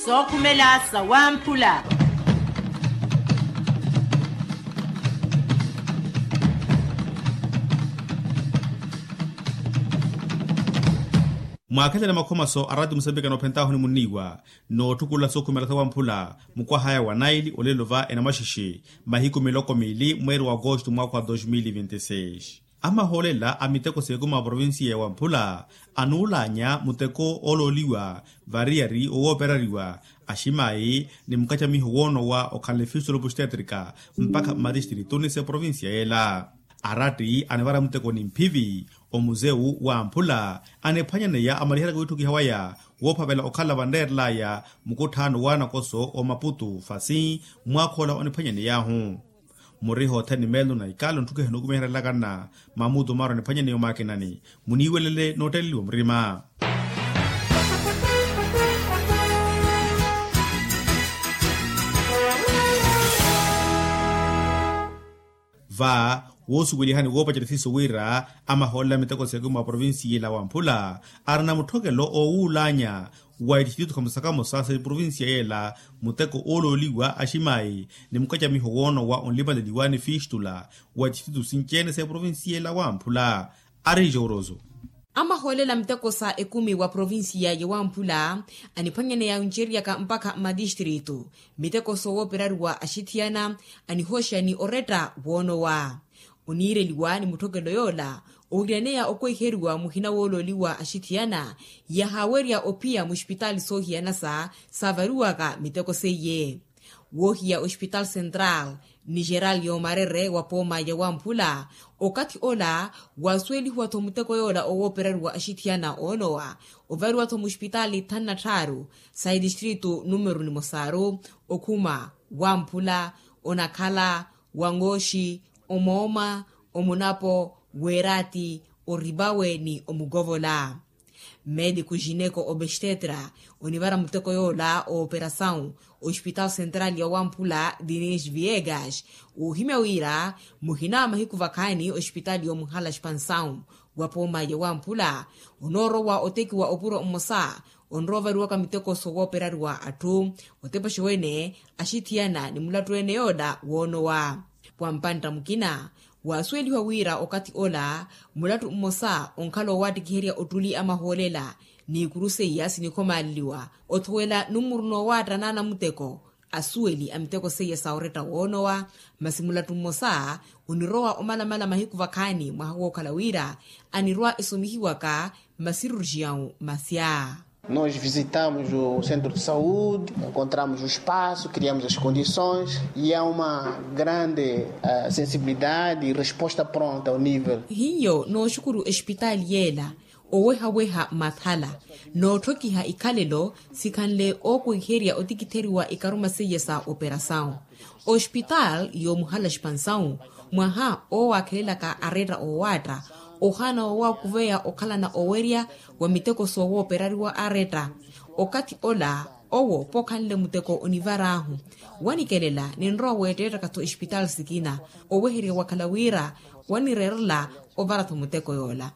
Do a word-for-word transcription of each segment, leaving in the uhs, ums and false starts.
Sookhumela sawamphula. Mwaakhelele makhomaso a rati musambika noophentahuni munniiwa, nootthukulela sookhumela sawamphula mukwahaya wa naili olelo va enamaxixi, mahiku miloko miili mweeri wa agosto mwaakha wa dos mil e vinte e seis. Amahoolela a miteko s'ekumi a provincia ya wamphula anuulaanya muteko oolooliwa variyari owooperariwa aximayi ni mukacamiho woonowa okhala efistula opustetrika mpakha mmatistirituni s'eprovincia yeela. Aratti anivara muteko ni mphivi omuzeu wamphula aniphwanyaneya amaliherya wiitthukiha waya woophavela okhala vanreerelaya mukutthaano w'anakoso omaputu fasi mwaakha ola oniphwanyaney'ahu. Muriho othene meelo na ikalo ntthukiha nookumiherelakana mamutu maaro aniphwanyaneya omaakinani. Muniiwelele nootteleliwa murima. Va woosuwelihani woopacerya siiso wira amahoolela miteko s'ekumi a provincia ila wamphula arina mutthokelo oowuulaanya wa itistitutu khamosa khamosa sa eprovincia yeela muteko oolooliwa aximayi ni mukacamiho woonowa onlimaleliwa ni fistula wa itistitutu sinci-ene sa eprovincia yeela wamphula. Ari jooroso. Amahoolela miteko sa ekumi wa provincia ya wamphula aniphwanyaneya oncereryaka mpakha mmatistritu miteko soowooperariwa axithiyana anihooxa ni oretta woonowa. Oniireliwa ni mutthokelo yoola owiiraneya okwehiheriwa muhina woolooliwa axithiyana yahaawerya ophiya muxipitaali soohiyanasa saavariwaka miteko seiye. Woohiya oxipitaali central ni geral yoomarere wa pooma ya wamphula okathi ola waasuwelihiwa-tho muteko yoola owooperariwa axithiyana oonowa ovariwa-tho muxipitaali thanu na tthaaru sa itistritu numeru nimosaaru okhuma wamphula onakhala wangooxi omooma omunapo weeraati oripawe ni omukovola. Mediku jineko obestetra onivara muteko yoola ooperasawu ospitaal central ya wamphula dinis viegas oohimya wira muhina mahiku vakhaani ospitaali yoomuhala spansawu wa pooma ya wamphula onoorowa otekiwa opuro mmosa onrowa ovariwaka miteko sowooperariwa atthu otepexe wene axithiyana ni mulattu ene yoola woonowa. Wa mpantta mukina waasuwelihiwa wira okathi ola mulattu mmosa onkhala owaattikiherya ottuli a mahoolela ni ikuru seiya sinikhomaaleliwa othowela nummuru noowaatta naana muteko asuweli a miteko seiya sa oretta woonowa. Masi mulattu mmosa onirowa omalamala mahiku vakhaani mwaha wookhala wira anirwa esomihiwaka masirujiyawu masya. Nós visitamos o centro de saúde, encontramos o espaço, criamos as condições e há uma grande sensibilidade e resposta pronta ao nível. Hiyo nooxukuru expitaali yeela owehaweha mathala nootthokiha ikhalelo sikhanle ookuhiherya otikitheriwa ikaruma seiya sa operasawu. Ospitaali yoomuhala spansawu mwaha oowaakhelelaka aretta oowaatta ohaana woowakuveya okhalana owerya wa miteko soowooperariwa aretta. Okathi ola owo pookhanle muteko onivar'ahu wanikelela ninrowa weetteettaka-tho espitaali sikina oweherya wakhala wira wanireerela ovara-tho muteko yoola.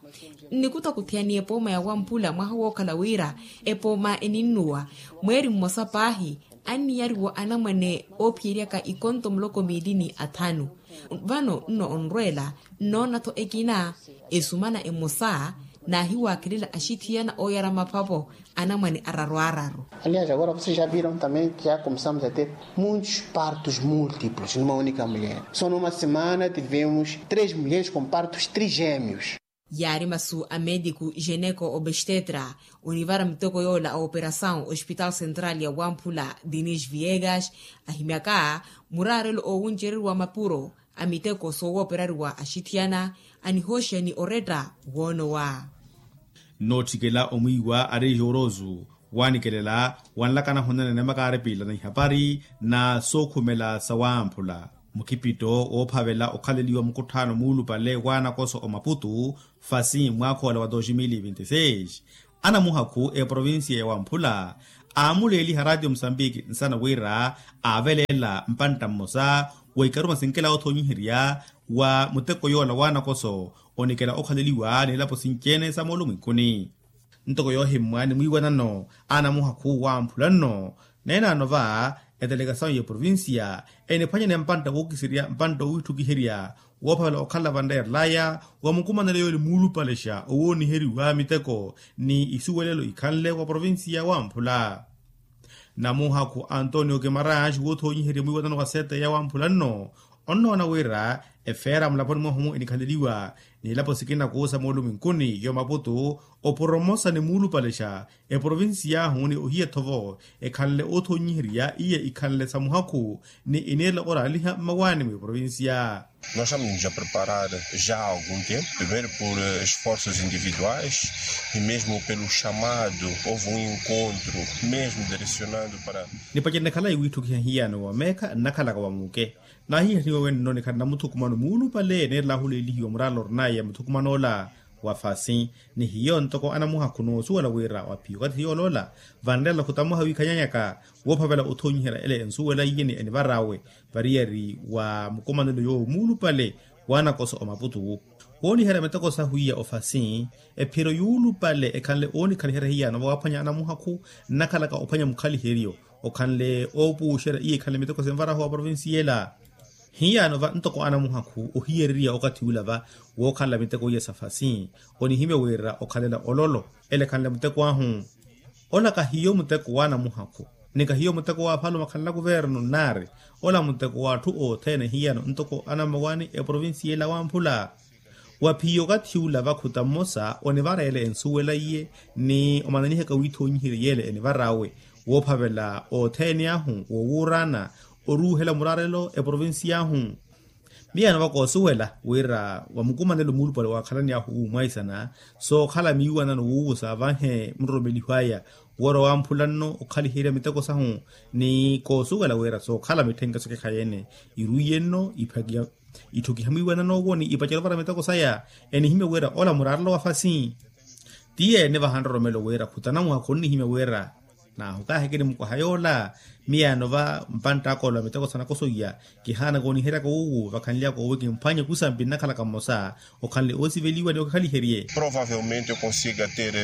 Nnikuta kuthiyani epooma ya wamphula mwaha wookhala wira epooma eninnuwa mweeri mmosa paahi anniyariwa anamwane oophiyeryaka ikonto muloko miili ni athanu. Vano nno onrweela nnoona-tho ekina esumana emosa naahiwaakhelela axithiyana ooyara maphapo anamwane araru araru. Aliás agora vocês já viram também que já começamos a ter muitos partos múltiplos numa única mulher só numa semana tivemos três mulheres com partos trigêmeos. Yaari masu a mediku jeneko obestetra onivara miteko yoola a operasawu ospitaali central ya wamphula dinis viegas ahimyaka muraarelo oowuncereriwa mapuro a miteko soowooperariwa axithiyana anihooxeni oretta woonowa. Nootthikela omwiiwa ari joorosu wanikelela wanlakana honanene makaaripila na ihapari na sookhumela sa wamphula mukhipitto woophavela okhaleliwa mukutthaano muulupale w'anakoso omaputu fasi mwaakhoola wa dos mil e vinte e seis. Anamuhakhu eprovincia ya wamphula aamuleeliha ratio musambiki nsana wira aaveleela mpantta mmosa wa ikaruma sinkela othonyiherya wa muteko yoola w'anakoso onikela okhaleliwa n'elapo sinci-ene sa moolumwinkuni. Ntoko yoohimmwa ni mwiiwanano anamuhakhu wamphula nno Neenano va etelekasawu ya provincia eniphwanyane mpantta wookiserya mpantta owiitthukiherya woophavela okhala vanreerelaya wa mukumanelo yoole muulupalexa owooniheriwa miteko ni isuwelelo ikhanle wa provincia wamphula. Namuhakhu antonio kimarange woothonyiherya mwiiwanano wa sete ya wamphula nno onnoona wira efeera mulaponi mwahumu enikhaleliwa nilapo sikina kuusa moolumwinkuni yo maputu oporomosa ni muulupalexa eprovincia ahu ni ohiya thovo ekhanle oothonyiherya iye ikhanle sa muhakhu ni iniirela oraaliha mmawaani mweprovincia. Nós estamos a preparar já há algum tempo primeiro por esforços individuais e mesmo pelo chamado houve um encontro mesmo direcionado para. Nipacerene khala iwiitthukiha hiyano wa meekha nnakhalaka wa muuke nahiihaniwa wenno nikhala namuthukumano muulupale neerela ahuleelihiwa muraala orinaya muthukuman'ola wa fasi ni hiyo ntoko anamuhakhu noosuwela wira wa phiyo okathi hiyo oloola vanreela khutamuha wiikhanyanyaka woophavela othonyiherya ele ensuwela iye ni enivar'awe variyari wa mukumanelo yoowo muulupale w'anakoso omaputu wooniherya miteko sahu iya ofasi ephiro yuulupale ekhanle oonikhaliherya hiyano vawaaphwanya anamuhakhu nnakhalaka ophwanya mukhaliheryo okhanle oopuuxerya iye ekhanle miteko sinvarahu wa provincia ela. Hiyano va ntoko anamuhakhu ohiyereriya okathi ula va wookhanla miteko iya sa fasi onihimya wira okhalela ololo ele ekhanle muteko ahu. Ola kahiyo muteko w'anamuhakhu ni kahiyo muteko w'afalume akhanla kuvernu nnaari ola muteko w'atthu othene hiyano ntoko anammawaani eprovincia ela wamphula. Wa phiyo okathi ula vakhuta mmosa onivareela ensuwela iye ni omananihaka wiithonyiherya yeele enivar'awe woophavela othene ahu woowuurana oruuhela muraarelo eprovincia ahu. Miyano va koosuwela wira wa mukumanelo muulupale waakhalani ahu wuumwaisana sookhala miiwanano wuuwusa vanhe muroromeliho aya woora wamphula nno okhaliherya miteko sahu ni koosuwela wira sookhala mitthenke sokekhayeene iruiye nno itthukiha mwiiwanano owo ni ipacela ovara miteko saya enihimya wira ola muraarelo wa fasi. Tiyeene vaha nroromelo wira khutanamuha khonnihimya wira naahu kaahikini mukwaha yoola. Miyano va mpantt'aka ola miteko sa nakoso iya kihaana kooniheryaka wuuwu vakhanlyaka owe kimphwanye kusampi nnakhalaka mmosa okhanle oosiveliwa ni okikhaliherye. Provavelmente eu consiga ter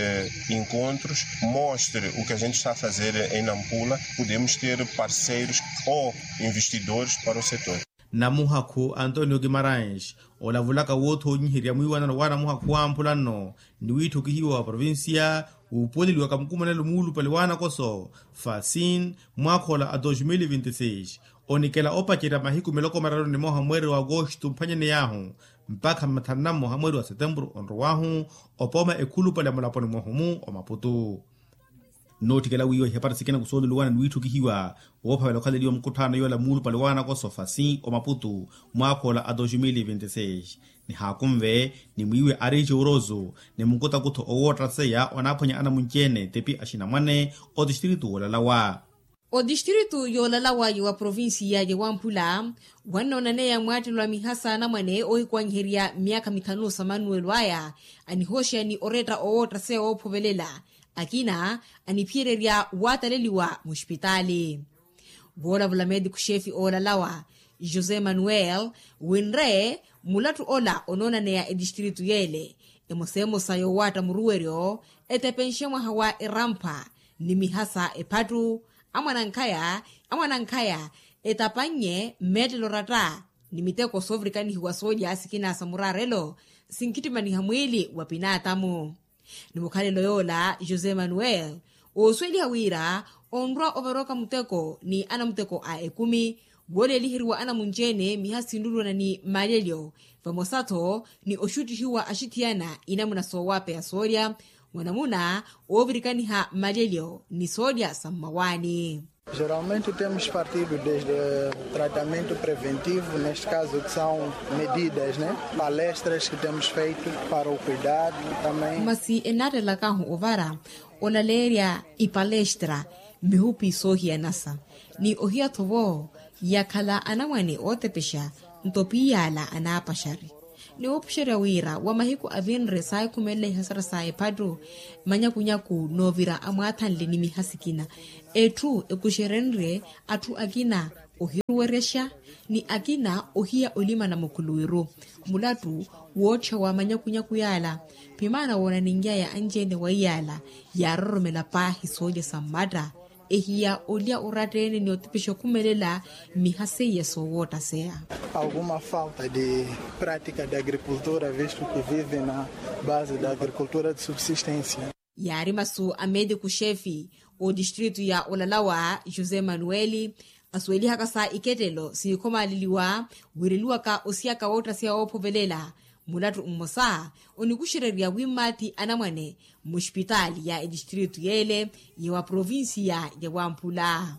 encontros mostre o que a gente está a fazer em nampula podemos ter parceiros ou investidores para o setor. Namuhakhu antonio kimarange olavulaka woothonyiherya mwiiwanano w'anamuhakhu wamphula nno ni wiitthukihiwa wa provincia wuupuweleliwaka mukumanelo muulupale w'anakoso fasin mwaakha ola a dos mil vinti seis onikela opacerya mahiku miloko mararu ni moha mweeri wa agosto mphwanyaney'ahu mpakha mathanu na mmoha mweeri wa setempuru onrow'ahu opooma ekhulupale ya mulaponi mwahumu omaputu. Nootthikela wiiwa ihapari sikina kusooluliwana ni wiitthukihiwa woophavela okhaleliwa mukutthaano yoola muulupale w'anakoso fasi omaputu mwaakha ola a dos mil vinti seis nihaakunve ni mwiiwe arici oroso ni mukutakutho owoottaseya onaaphwanya anamunci-ene tipi axinamwane otistritu woolalawa. Otistritu yoolalawa ya wa provincia ya wamphula wannoonaneya mwaattelelo a mihasa anamwane oohikwanyiherya myaakha mithanu sa manuwelo aya anihooxeya ni oretta owoottaseya woophovelela akina aniphiyererya waataleliwa muxipitaali. Voolavula mediku xefi oolalawa josé manuel winre mulattu ola onoonaneya etistritu yeele emosemosa yowaatta muruweryo etepenxe mwaha wa erampa ni mihasa ephattu amwanankhaya amwanankhaya etapannye mmeettelo oratta ni miteko soovirikanihiwa soolya sikina sa muraarelo sinkhittimaniha mwiili wa pinaatamu. Ni mukhalelo yoola josé manuel oosuweliha wira onrwa ovaroka muteko ni anamuteko a ekumi wooleeliheriwa anamunci-ene miha sinlulwana ni maalelyo vamosa-tho ni oxuttihiwa axithiyana inamuna soowapeya soolya mwanamuna oovirikaniha maalelyo ni soolya sa mmawaani. Geralmente temos partido desde tratamento preventivo neste caso que são medidas palestras que temos feito para o cuidado também. Masi ennaattelelakahu ovara olaleerya ipalestra mihupi soohiyanasa ni ohiya-tho vo yakhala anamwane ootepexa nto piyaala anaapaxari ni wuupuxerya wira wa mahiku avinre saahikhumelela ihasara sa ephattu manyakunyaku noovira amwaathanle ni miha sikina etthu ekuxerenrye atthu akina ohiruwerexa ni akina ohiya olimana mukhuluwiru mulattu wootthewa manyakunyaku yaala pimaana woonanin'yaya anci-ene wa iyaala yaaroromela paahi soolya sa mmatta. ehiya olya oratta-ene ni otipixa okhumelela mmiha seiya soowoottaseya. Alguma falta de prática de agricultura visto que vive na base da agricultura de subsistência. Yaari masu a mediku xefi otistritu ya olalawa josé manueli asuwelihaka sa ikettelo sinikhomaleliwa wireliwaka osiyaka woottaseya woophovelela mulattu mmosa onikuxererya wimmaathi anamwane mmuxipitaali ya etistritu yeele ya wa provincia ya wamphula.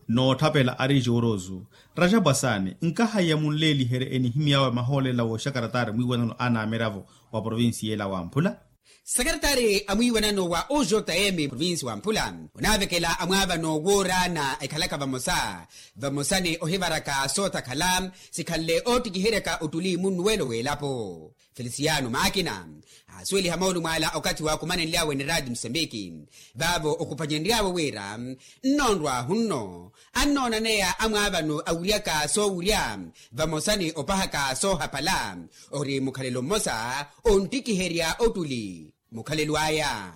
Nootthapela ari joorosu rajapu asaani nkahaiya munleeliherye enihimy'awe mahoolela wooxakaratari mwiiwanano a naamiravo wa provincia yeele a wamphula. Sekaretari a mwiiwanano wa ojm provinsi wa mphula onaavekela amwaavano woorana ekhalaka vamosa vamosani ohivaraka sootakhala sikhanle oottikiheryaka ottuli munnuwelo w'elapo. Felisiyano maakina aasuweliha moolumo ala okathi waakumanenly'awe ni raati musambiki vaavo okhupanyenry'awe wira nnoonrw'ahu nno annoonaneya amwaavano awuryaka soowurya vamosa ni opahaka soohapala ori mukhalelo mmosa onttikiherya ottuli mukhalelo aya.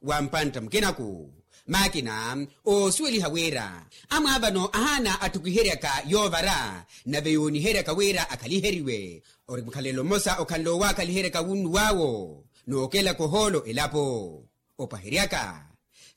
Wa mpantta mukinaku maakina oosuweliha wira amwaavano ahaana atthukiheryaka yoovara nave yooniheryaka wira akhaliheriwe ori mukhalelo mmosa okhanle owakhaliheryaka wunnuw'awo nookelaka ohoolo elapo opaheryaka.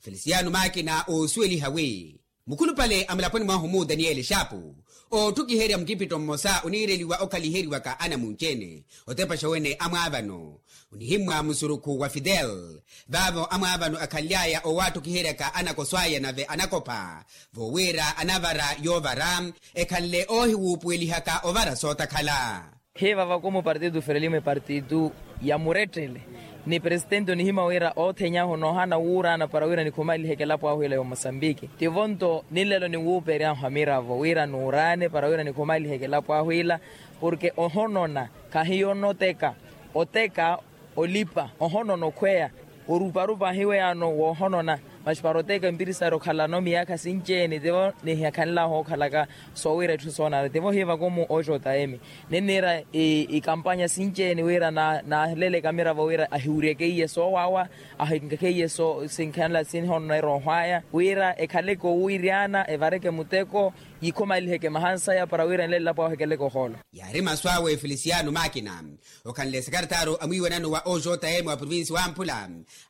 Felisiyano maakina oosuweliha wi mukhulupale a mulaponi mwahu mu daniyeli xaapu ootthukiherya mukipitto mmosa oniireliwa okhaliheriwaka anamunci-ene otepaxa wene amwaavano onihimmwa musurukhu wa fidel vaavo amwaavano akhanly'aya owatthukiheryaka anakoso aya nave anakopha voowira anavara yoovara ekhanle oohiwuupuwelihaka ovara sootakhala. Hiiva vakumu partitu ferelimo epartitu ya murettele ni presitenti onihimya wira oothenyahu noohana wuurana para wira nikhumaliheke elapo ahu ila ya omosambiki tivo nto ninlelo ninwuuperyahu amiravo wira nuurane para wira nikhumaliheke elapo ahu ila porke ohonona khahiyo onoteka oteka olipa ohonona okhweya oruparupa ahiweyaano woohonona masi para oteka empirisari okhalano miyaakha sinci-ene tivo nihiyakhanlahu okhalaka soowira etthu soonana tivo hiivakumu oxota emi ninniira ikampanya sinci-ene wira naaleleke amiravo wira ahiwuryeke iye soowawa ahinkeke iye sinkhanela sinhonona erooho aya wira ekhaleke owiryana evareke muteko yikhomaliheke mahansaya para wira enlele elapo ahu ekeleke ohoolo. Yaari masu awe felisiyano maakina okhanle sekaretari a mwiiwanano wa ojm wa provinsi wa mphula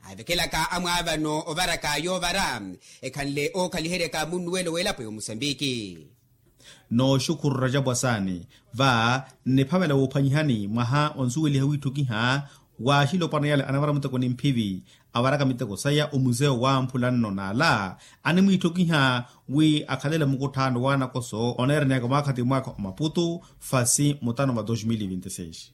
aavekelaka amwaavano ovaraka yoovara ekhanle ookhaliheryaka munnuwelo w'elapo ya omusambiki. Nooxukhuru rajapu asaani va nniphavela woophwanyihani mwaha onsuweliha wiitthukiha waaxilopwana yale anavara muteko ni mphivi avaraka miteko saya omuseo wa mphula nno n'ala animwiitthukiha wi akhalele mukutthaano w'anakoso oneeraneyaka mwaakha ti mwaakha omaputu fasi mutano va dos mil vinti seis.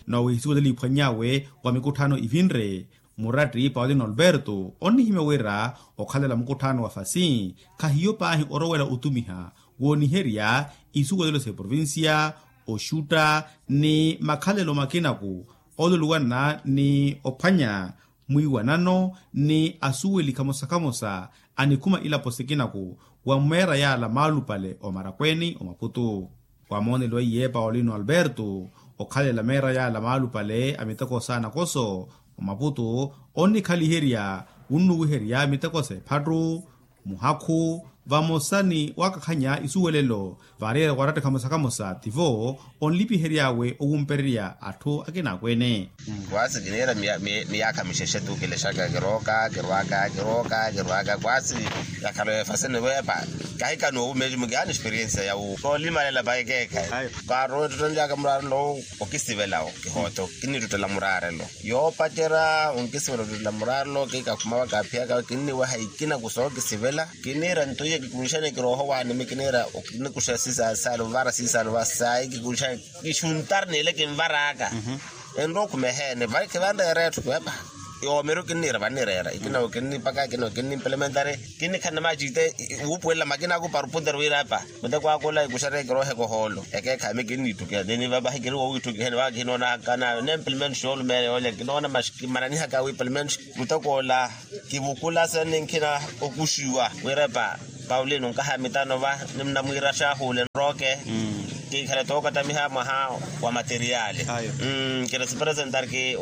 Noowihisiwa teliphwany'awe wa mikutthaano ivinre muratti paulino alberto onnihimya wira okhalela mukutthaano wa fasi khahiyo paahi orowela otumiha wooniherya isuwelelo s'eprovincia oxutta ni makhalelo makinaku oluluwana ni ophwanya mwiiwanano ni asuweli khamosa khamosa anikhuma ilapo sikinaku wa mmeera yaala maalupale omarakweeni omaputu. Wamooneliwa iye paulino alberto okhalela meera yaala maalupale a miteko s'anakoso omaputu onnikhaliherya wunnuwiherya miteko s'ephattu muhakhu vamosa ni wakakhanya isuwelelo vareera waratta khamosa khamosa tivo onlipihery'awe owumpererya atthu akinaakweene. Kwasi kiniira miyaakha mixexe tu kilexaka kirooka kirwaka kirooka kirwaka kwasi yakhala efasi niweepa. Kahikana owumeji mukihaana experiensia ya wu koolimalela paikeekhayi. Kaarowa ettuttenlyaka muraarelo okisivela okihooto kinittuttela muraarelo yoopacerya onkisivela ottuttela muraarelo kiikakhuma wakaphiyaka kinniweha ikina kusookisivela. Kiniira nto iye kikunxane kirooho waanimi kiniira okinikuxa sisaasale ovara sisaale ovasaayi kikunxane kixuntari n'ile kinvar'aka. Enrowa okhumeheene vai kivanreera etthu kiwepa. Yoomeru kinniira vannireera ikina okinnipaka ikina okinnimplementari kinnikhanne maciite wuupuwelela makina aku para opunteru wiira epa. Muteko akula ikuxareke kirooheka ohoolo ekeekhayi mi kinnitthukiha niniva vahi kiri wowiitthukiheni vaka kinoonakana nemplemente xoolumeela yoolya kinoona masi kimananihaka wiiplemente. Muteko ola kivukula sene nkhina okuxiwa wiirepa paulino nkaha mitano va nimuna mwiira xahuule nrooke kiikhale tookatamiha mwaha wa materiali. Kiri sipresentari ki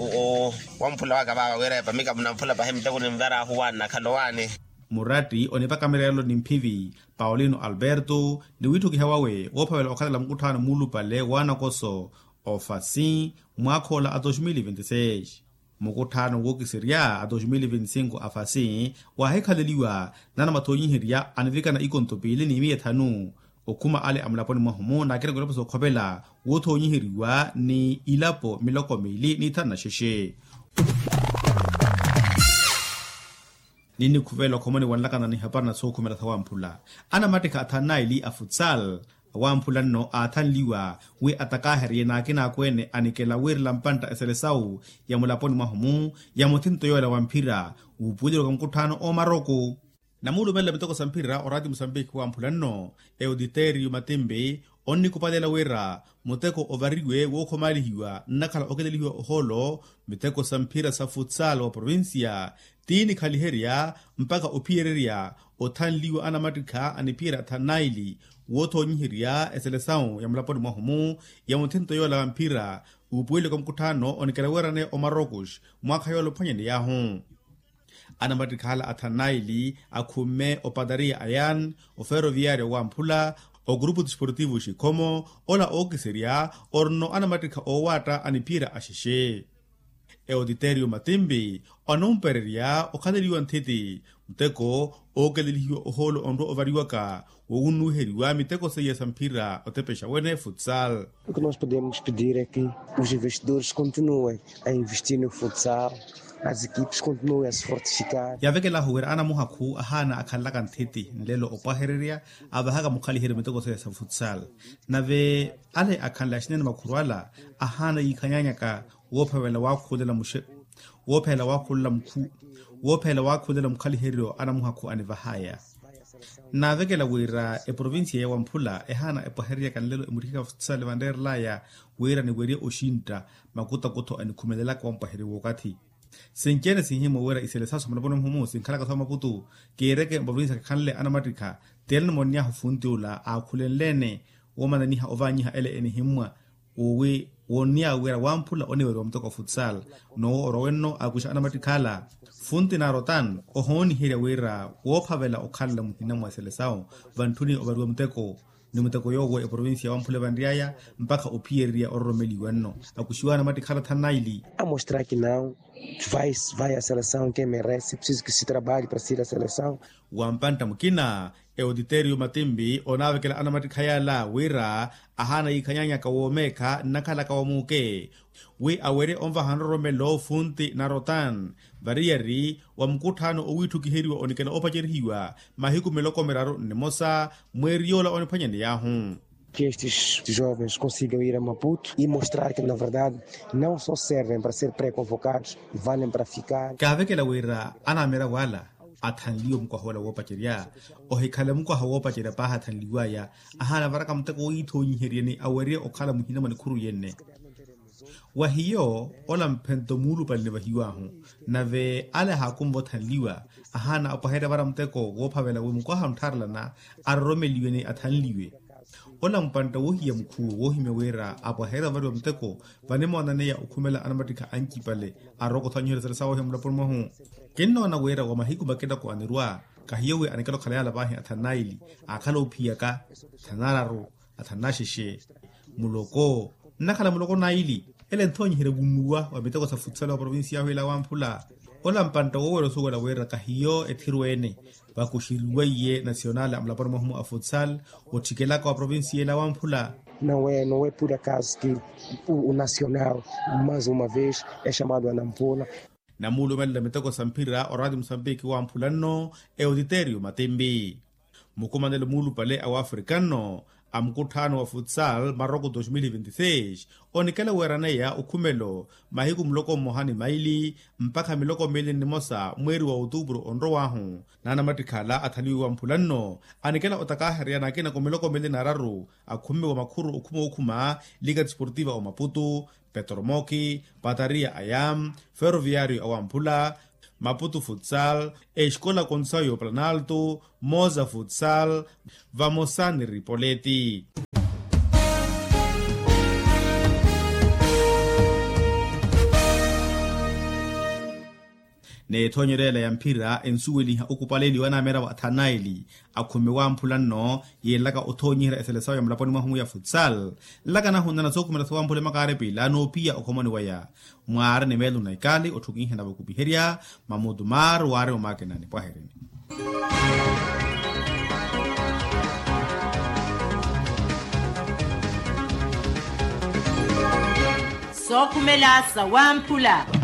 wamphula waka vaava wiirepa mika munamphula pahi muteko nimvera ahuwaani nakhala owaani. Muratti onipaka mireelo ni mphivi paulino alberto ni wiitthukiha wawe woophavela okhalela mukutthaano muulupale w'anakoso ofasi mwaakha ola a dos mil vinti seis. Mukutthaano wookiserya a dos mil vinti cinco afasi waahikhaleliwa nana mathoonyiherya anivikana ikonto piili ni miya ethanu okhuma ale a mulaponi mwahu-mu naakina kulapo sookhopela woothoonyiheriwa ni ilapo miloko miili ni ithanu na xexe. Ninnikhuvela okhomoni wanlakana ni hapari na sookhumela sawamphula anamattikha athanu naili a futsal awamphula nno aathanliwa wi atakaaherye n'akina akweene anikela wiirela mpantta eselesawu ya mulaponi mwahu-mu ya muthinto yoola wa mphira wuupuweliwaka mukutthaano oomaroko. Namuulumelela miteko sa mphira oraati musambiki wamphula nno eutiteriyo matimpi onnikupaleela wira muteko ovariwe wookhomalihiwa nnakhala okilelihiwa ohoolo miteko sa mphira sa futsal wa provincia ti nikhaliherya mpakha ophiyererya othanliwa anamattikha aniphiyerya athanu naili woothoonyiherya eselesawu ya mulaponi mwahu-mu ya muthinto yoola wa mphira uupuweliwaka mukutthaano onikela wiirane omarokos mwaakha yoola ophwanyaney'ahu. Anamattikhala athanu naili akhumme opatariya ayan oferoviyaryo wamphula ogurupu disportivo xikhomo ola ookiserya orino anamattikha oowaatta aniphiyerya axexe. Eotiteriyo matimpi onumpererya okhaleliwa nthiti muteko ookelelihiwa ohoolo onrwa ovariwaka wowunnuwiheriwa miteko seiya sa mphira otepexa wene futsal. O que nós podemos pedir é que os investidores continuem a investir no futsal, as equipes continuem a se fortificar. Yaavekelahu wira anamuhakhu ahaana akhanlaka nthiti nlelo opwahererya avahaka mukhaliheryo miteko seiya sa futsal nave ale akhanle axinene makhuru ala ahaana yiikhanyanyaka woophavela waakhulela muxe woopheela waakhulela mukhu woopheela waakhulela mukhaliheryo anamuhakhu anivahaya. Naavekela wira eprovincia ya wamphula ehaana epwahereryaka nlelo emutthikaka futsale vanreerelaya wira niwerye oxintta makutakutho anikhumelelaka wampwaheryo wookathi. Sinci-ene sinhimwa wira iselesaso mulaponi mwahu-mu sinkhalaka soomaputu kiireke mprovincia kakhanle anamattikha. Ti ene nimonnyahu funti ula aakhulenle-ene woomananiha ovaanyiha ele enihimmwa wowi woonniya wira wamphula oniweriwa muteko futsal. Nowo orwa wenno akuxa anamattikhala funti narotan ohooniherya wira woophavela okhalela muhina mwa eselesawu vantthuni ovariwa muteko ni muteko yoowo eprovincia wamphula vanryaya mpakha ophiyererya ororomeliwa nno akuxiwa anamattikhala thanu naili. Amostraki nawu vai vai a selesawu ke merece preciso ke se trabalhe para ser a selesawu. Wa mpantta mukina eotiteriyo matimpi onaavekela anamattikha yaala wira ahaana yiikhanyanyaka woomeekha nnakhalaka wa muuke wi awerye onvaha nroromelo funti narotan variyari wa mukutthaano owiitthukiheriwa onikela opacerihiwa mahiku miloko miraru nnimosa mweeri yoola oniphwanyaney'ahu. Que estes jovens consigam ir a maputo e mostrar que na verdade não só servem para ser pré-convocados, valem para ficar. Kaavekela wira anamiravo ala athanliwe mukwaha ola woopacerya ohikhale mukwaha woopacerya paahi athanliwaya ahaana varaka muteko wowiithoonyiheryeni awerye okhala muhina mwa nikhuru yenne. Wa hiyo ola mphento muulupale nivahiw'ahu nave ale ahaakumva othanliwa ahaana apwaherya vara muteko woophavela wi mukwaha onttharelana aroromeliwe ni athanliwe. Ola mpantta woohiya mukhuwe woohimya wira apwaherya ovariwa muteko vanimoonaneya okhumela anamattikha ancipale arokothonyiherya sala sawohiya mulaponi mwahu. Kinnoona wira wa mahiku makitoko anirwa kahiyo wi anikela okhala yaala vaahi athanu naili aakhala oophiyaka athanu nararu athanu naxexe muloko nnakhala muloko naili ele nthoonyiherya vunnuwa wa miteko sa futsal wa provincia yahu ila wamphula. Ola mpantta woowerya osuwela wira kahiyo ethirweene vakuxeriweiye nasional a mulaponi mwahu-mu a futsal ottikelaka wa provincia ila wamphula. Não é não é por acaso que o nacional mais uma vez é chamado a nampula. Namuulumelela miteko sa mphira oraati musambiki wamphula nno eotiteriyo matimpi. Mukumanelo muulupale a wafrika nno a mukutthaano wa futsal maroko dos mil vinti seis onikela weeraneya okhumelo mahiku muloko mmoha ni maili mpakha miloko miili nnimosa mweeri wa otuupuru onrow'ahu n'anamattikhala athaliwe wamphula nno anikela otakaaherya n'akinako miloko miili n'araru akhumiwa makhuru okhuma okhuma lika disportiva omaputu petromoki patariya ayam ferroviario awamphula maputu futsal escola consayo planalto moza futsal vamosa ni ripoleti. N'ethoonyeryo ela ya mphira ensuweliha okupaleliwa n'ameera wa athanaeli akhume wamphula nno, yeenlaka othoonyihela eselesawo ya mulaponi mwahu ya futsal. Nlaka nahunana sookhumela sowamphula emakaarepila n'opiya okhomoni waya. Mwaari ni meelo na ikali otthukinhana vakupiherya mamutu maaru waari omakinani pwaherini. Sookhumela sawamphula.